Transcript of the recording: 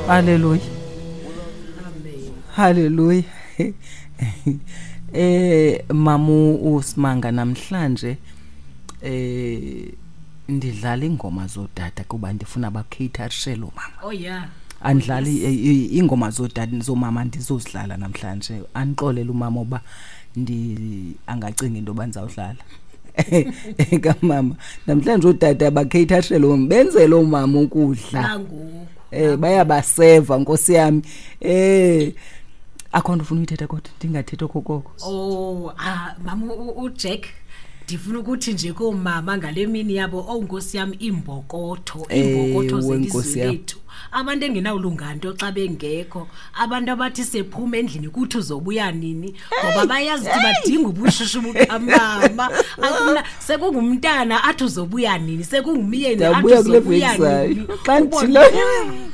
Haleluya. Haleluya. Mamu uSimanga, namhlanje ndidlala ingoma zodada kuba ndifuna bacaterishe lo mama. Oh yeah. Andidlali ingoma zodada, zomama ndizozidlala namhlanje. Andixolele umama uba ndi angacinga into yoba ndizawudlala kamama namhlanje. Ootata bacaterishe lo, benzele oomama ukudla. Nangoku. Bayabaseva, nkosi yami. Akho nto ufuna uyithetha, kodwa ndingathethi okokoko. Oh, ah, mama uJack, ndifuna ukuthi nje koomama ngale mini yabo, oh nkosi yam, iimbokotho, iimbokotho Ewe, zelizwe nkosi yam. lethu, abantu engenawulunga nto xa bengekho, abantu abathi sephuma endlini kuthi uzobuya nini, ngoba bayazi ukuthi badinga ubushushu bukamama. Akuna sekungumntana athi uzobuya nini, sekungumyeni athi Ndiyabuya kule uzobuya veki zayo. nini. Xa Ubone- ndithile.